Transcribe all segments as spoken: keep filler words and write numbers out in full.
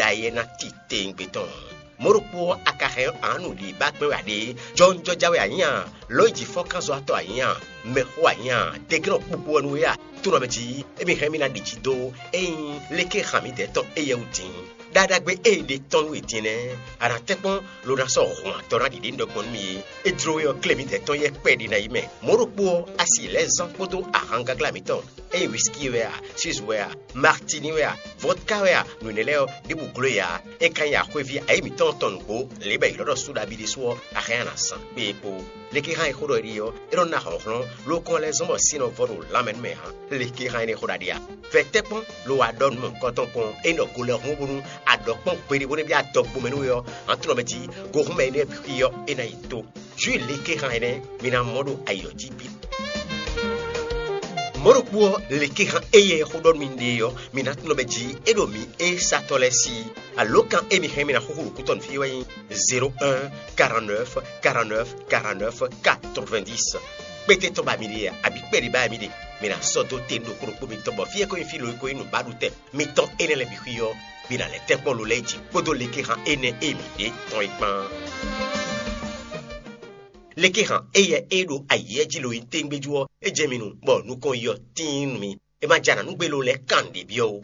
ɖ'ayǐ ɛ ná titewungbe tɔn. Mɔ̌ ɖokpó ɔ́, a ka hɛn ǎ nǔɖiɖi ba kpɛ́n wɛ a ɖe? Jɔwunjɔja wɛ a nyǐ a? Lɔ̌nyijǐfɔ́nkánzɔ́watɔ́ a nyǐ a? Mɛxó a nyǐ a? Deglɔ́ kpukpu wɛ nú we a? Tónɔ mɛ jí, émí hɛn mì ná ɖi jǐ dó ényí léké han mǐdɛɛ tɔn éyɛ́ wú din. Ɖaɖagbe e è ɖe tɔn nú we din nɛ́, a nǎ tɛ́nkpɔ́n lo ná sɔ́ hun atɔn ná ɖiɖe nú ɖɔkpɔ́ nú mì é. É jló we ɔ́, klé mǐdɛɛ tɔn yɛ́ kpɛɖé ná yi mɛ. Mɔ̌ ɖokpó ɔ́, a si lɛ̌ zán kpódó ahangaglá mǐtɔn, ényí wískí wɛ a, Suisse wɛ a, Martini wɛ a, vodka wɛ a, nǔ énɛ́ lɛ́ɛ ɔ́, ɖěbǔ gló e ǎ. É ka nyí axwéví ayǐ mǐtɔn tɔn nǔgbó, lě bɔ è ylɔ́ ɖɔ Súɖabi ɖésú ɔ́, a hɛn a nǎ zán kpé é kpó. Lekexán e xó ɖɔ é ɖe ɔ́, é nɔ ná hlɔ̌nhlɔ́n, lókɔ́n lɛ́ zɔ́n bɔ sin nɔ vɔ ɖo lanmɛ nú mɛ ǎ. Lekexán énɛ́ xó ɖaɖe a? Vɛ tɛ́nkpɔ́n lo wa ɖɔ nǔ mɔ̌hunkɔtɔn kpɔ́n, é nɔ go lɛ́ hun bó nú a ɖɔ kpɔ́n gbeɖé bó nɛ́ byɔ́ adɔgbomɛ nú we ɔ́, hǎn tlɔmɛ jí gohúnmɛ énɛ́ bǐ xwí ɔ́, é ná yi tó. Jǔ lekexán énɛ́ mi ná mɔ ɖo ayǐ ɔ́ jí bǐ. Mɔ̌ ɖokpó ɔ́, lekexán éyɛ́ xó ɖɔ nú mi ɖe ɔ́, mi ná tunwun ɖɔ mɛ jí é ɖo mǐ é satɔ́ lɛ́ɛ sí. Alǒkan e mi hɛn mi ná xúxú ɖo kútɔ́ nú fí wɛ nyí zéro un, quarante-neuf, quarante-neuf, quarante-neuf, quatre-vingt-dix. Kpété tɔn ba mi ɖe a, abǐ kpɛɖé ba mi ɖe, mi ná sɔ́ dó te ɖokpó ɖokpó mitɔn bɔ fí e ko nyí fí lo e ko nyí nǔbaɖutɛn mitɔn énɛ́ lɛ́ɛ bǐ xwí ɔ́, mi ná lɛ́ tɛ́nkpɔ́n lo lɛ́ɛ jí kpódó lekexán énɛ́ e mi ɖe tɔn é kpán. Lekexán éyɛ́ e ɖo ayǐ jí lo nyí téŋgbéjú ɔ́, é jɛ mi nu, bɔ nukɔn yi ɔ́ tíin nú mi. É ma jɛ anǎ nú gbé lo lɛ́ɛ kan nǔɖé byɔ́ ó.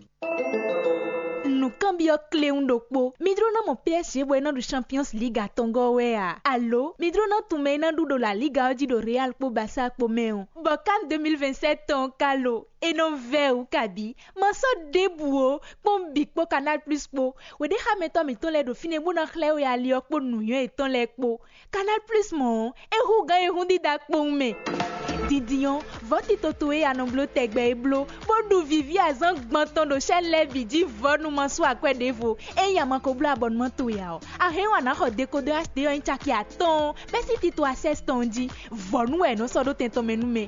Nǔkanbyɔ́ kléwún ɖokpó. Mi jló ná mɔ P S G bɔ é ná ɖu Champions League atɔngɔ́ ɔ́ wɛ a? Alo mi jló ná tunwun mɛ e ná ɖu ɖo La Liga ɔ́ jí ɖo Real kpó Barça kpó mɛ ɔ́? Bɔ CAN deux mille vingt-sept tɔn ɔ́ ka lo? É nɔ vɛ́ wǔ kabǐ. Ma sɔ́ ɖěbǔ ó, kpɔ́n bǐ kpó Canal Plus kpó. Wěɖéxámɛtɔ́ mǐtɔn lɛ́ɛ ɖo fínɛ́ bó ná xlɛ́ we ali ɔ́ kpó nǔnywɛ́ yětɔn lɛ́ɛ kpó. Canal Plus mɔ̌ ɔ́, é hú gǎn e hún dídá kpowun mɛ. Dindin ɔ́, vɔ̌ tito towe e a nɔ bló tɛgbɛ é bló, bó ɖu vǐví azǎn gbɔn tɔn ɖo chaîne lɛ́ɛ bǐ jí vɔ̌ nu ma sú akwɛ́ ɖěvo. Ényí a ma ko bló abɔnumán towe ǎ ɔ́, a hɛn ɔ́ a nǎ xɔ dekodɔ H D ɔ́ nyí caki atɔ́ɔ́n bɛ́ sín tito Access tɔn jí. Vɔ̌ nu wɛ è nɔ sɔ́ ɖó tɛn tɔn mɛ nú mɛ.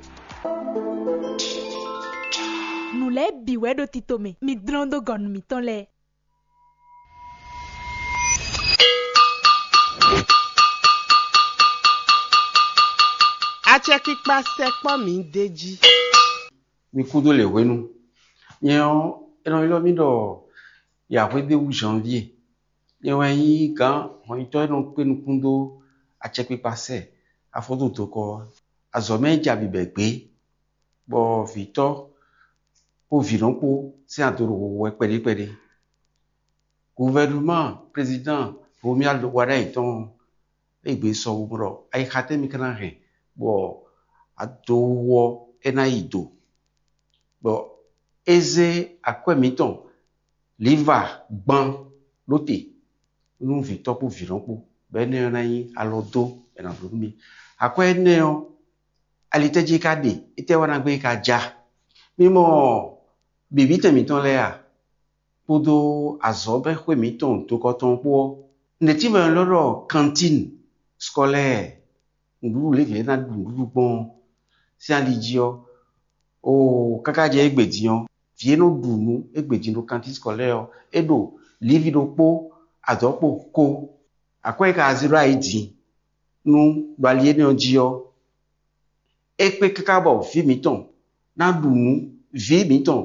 Nǔ lɛ́ɛ bǐ wɛ ɖo tito mɛ, mi dlɔ́n dó gɔ̌ nú mǐtɔn lɛ́ɛ. Acɛkpikpa sɛkpɔ́ mǐ d'é jí. Mi kúdó lě hwenu. Nyɛ ɔ́, è nɔ ylɔ́ mì ɖɔ Yǎhwédéwú Janvier. Nyɛ wɛ nyí gǎn hɔnyitɔ́ e nɔ kpé nukún dó acɛkpikpa sɛ afɔ́ dó dokɔ ɔ́. Azɔ̌ mɛ e ja bǐbɛ́ gbé, bɔ vǐtɔ́ kpó vǐnɔ kpó sín ado ɖo hoho wɛ kpɛɖé kpɛɖé. Guvɛnúman prezidán Romuald Wadagni tɔn ɔ́, é gbe sɔ bo ɖɔ ayixa tɛ́ mi ka ná hɛn bɔ adowú ɔ́ é ná yi do, bɔ é zé akwɛ́ mǐtɔn Liva gban ɖó te nú vǐtɔ́ kpó vǐnɔ kpó, bɔ énɛ́ ɔ́ ná nyí alɔ dó bɔ è nǎ bló nú mì. Akwɛ́ énɛ́ ɔ́, alitɛ́ jí é ka ɖe? Étɛ́ wá ná gbé é ka ja? Mi mɔ bǐbítɛn mǐtɔn lɛ́ɛ a? Kpódó azɔ̌mɛxwé mǐtɔn dokɔtɔn kpó ɔ́, nɛ̌ tínmɛ lɔ ɖɔ kantín skɔlɛ́ɛ nǔɖuɖu lě vǐ lɛ́ɛ ná ɖu nǔɖuɖu gbɔn ɔ́ sín ali jí ɔ́, oo káká jɛ égbé din ɔ́, vǐ e nɔ ɖu nǔ égbé din ɖo kantín skɔlɛ́ɛ ɔ́, é ɖo lǐvi ɖokpó adɔ̌kpo kó. Akwɛ́ e ka zé ɖó ayǐ din nú ɖo ali énɛ́ ɔ́ jí ɔ́, é kpé káká bɔ vǐ mǐtɔn ná ɖu nǔ, vǐ mǐtɔn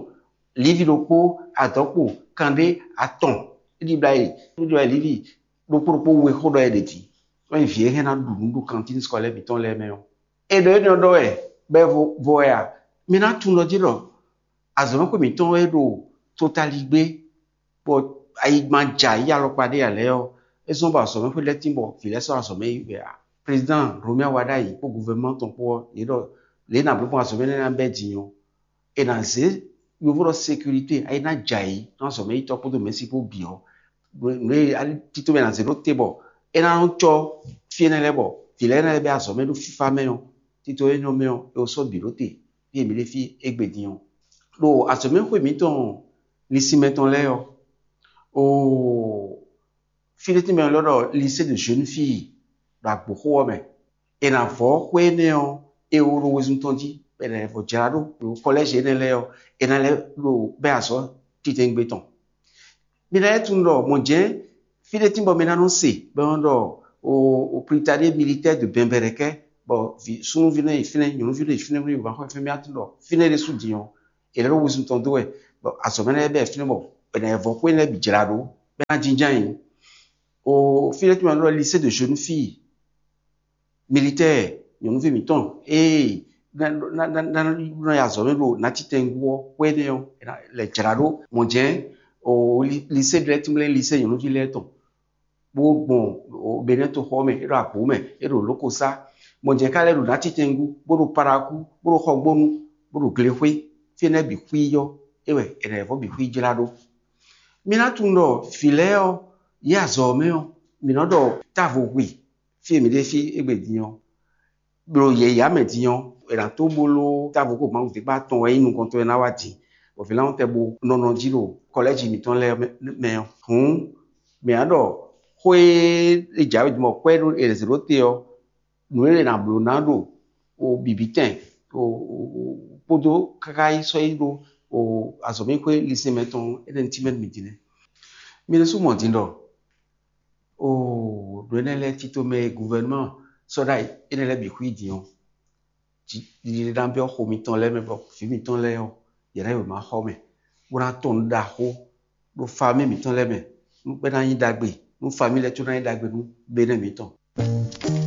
lǐvi ɖokpó adɔ̌kpo kanɖé atɔn é ɖibla e é ɖibla e lǐvi ɖokpó ɖokpó we xó ɖɔ é ɖe din. Wɛn vǐ e hɛn ná ɖu nǔ ɖo kantín skɔlɛ́ mǐtɔn lɛ́ɛ mɛ ɔ́, è ɖɔ énɛ́ ɔ́ ɖɔ wɛ bɔ é vo vɔ wɛ a? Mi ná tunwun ɖɔ jí ɖɔ azɔ̌mɛxwé mǐtɔn e ɖo totaligbé bɔ ayigban ja yí alɔkpa ɖé ǎ lɛ́ɛ ɔ́, é zɔ́n bɔ azɔ̌mɛxwé lɛ́ɛ tín bɔ vǐ lɛ́ɛ sɔ́ azɔ̌mɛ yi wɛ ǎ. Prezidán Romuald Wadagni kpó guvɛnúman tɔn kpó ɔ́, yě ɖɔ lě e nǎ bló gbɔn azɔ̌mɛ énɛ́ ná bɛ́ din ɔ́, è nǎ zě yovo ɖɔ sécurité, ayi ná jɛ ayǐ nú azɔ̌mɛyítɔ́ kpódó mɛ̌si kpó bǐ ɔ́, nǔ e tito mɛ ná zě ɖó te bɔ é ná nɔ cɔ́ fí énɛ́ lɛ́ɛ bɔ vǐ lɛ́ɛ ná lɛ́ bɛ́ azɔ̌mɛ ɖó fífá mɛ ɔ́, tito énɛ́ mɛ ɔ́, è wǒ sɔ́ bǐ ɖó te fí e mǐ ɖe fí égbé din ɔ́. Ɖo azɔ̌mɛxwé mǐtɔn lisinmɛ tɔn lɛ́ɛ ɔ́, oo, fí ɖé tínmɛ lɔ ɖɔ lycée de jeunes filles ɖo Agboxó ɔ́ mɛ. È nǎ vɔ́ xwé énɛ́ ɔ́, è wo ɖo wezun tɔn jí, bɔ è nǎ vɔ jlá ɖó ɖo kɔlɛ́zi énɛ́ lɛ́ɛ ɔ́, è nǎ lɛ́ ɖo bɛ́ azɔ̌ titewungbe tɔn. Mi ná lɛ́ tunwun ɖɔ mɔ̌ jɛ́n fí ɖé tín bɔ mi ná nɔ se bɔ é nɔ ɖɔ o o pritaɖé militɛ́ɛ de bɛnbɛrɛkɛ bɔ vǐ súnnuví nɔ yi fínɛ́, nyɔ̌nuví nɔ yi fínɛ́, bó nɔ yi wǎn xɔ fɛ́n mì atún ɖɔ fínɛ́ ɖésú din ɔ́, è lɛ́ ɖo wezun tɔn dó wɛ, bɔ azɔ̌ mɛ lɛ́ɛ bɛ́ fínɛ́ bɔ è nǎ vɔ xwé lɛ́ɛ bǐ jlá ɖó. bɛ ná jínjɔ́n ayǐ. O fí ɖé tɔn mɛ ɖɔ lycée de jeunes filles militaires, nyɔ̌nuví mǐtɔn ee ná ná ná ná nɔ yi azɔ̌ mɛ ɖo nátítɛngú ɔ́ xwé nɛ́ ɔ́, lɛ jlǎ ɖó mɔ̌ jɛ́n o lycée lɛ́ɛ tínmlɛ́ lycée nyɔ̌nuví lɛ́ɛ tɔn bó gbɔn Benɛ́ toxo ɔ́ mɛ, é ɖo Agbǒ mɛ, é ɖo Lókosá. Mɔ̌ jɛ́n ká lɛ́ ɖo nátítɛngú, bó ɖo Parakú, bó ɖo Xɔgbónu, bó ɖo Glexwé. Fí énɛ́ bǐ xwí ɔ́, é wɛ è nǎ vɔ́ bǐ xwí jlá ɖó. Mi ná tunwun ɖɔ vǐ lɛ́ɛ ɔ́, yě azɔ̌ ɔ́ mɛ ɔ́, mǐ nɔ ɖɔ távo hwi fí e mǐ ɖe fí égbé din ɔ́, ɖo yɛ̌yá mɛ din ɔ́, è nǎ tó bló távo ko Mawu zé kpá tɔn wɛ nyí nukɔntɔn e ná wá din, bɔ vǐ lɛ́ɛ tɛ bo nɔ nɔ jí ɖo kɔlɛ́ji mǐtɔn lɛ́ɛ mɛ ɔ́. Hǔn mǐ ná ɖɔ xó e è jǎwe din bɔ kwɛ́ ɖó è zě ɖó te ɔ́, nǔ e è nǎ bló ná ɖo o bǐbítɛn kpódó káká yi sɔ́ yi ɖó o azɔ̌mɛxwé lisɛnmɛ tɔn énɛ́ tínmɛ mǐ din nɛ́. Mi ɖésú mɔ din ɖɔ o ɖo énɛ́ lɛ́ɛ tito mɛ e guvɛnuma sɔ́ ɖ'ayǐ énɛ́ lɛ́ɛ bǐ xwí din ɔ́, ɖiɖe ná byɔ́ xo mitɔn lɛ́ɛ mɛ bɔ vǐ mitɔn lɛ́ɛ ɔ́, yě ná yi wěma xɔ mɛ, bó ná tɔn nǔ ɖaxó ɖo famí mǐtɔn lɛ́ɛ mɛ, nú é ná nyí ɖagbe, nú famí lɛ́ɛ tó ná nyí ɖagbe nú Benɛ́ mǐtɔn.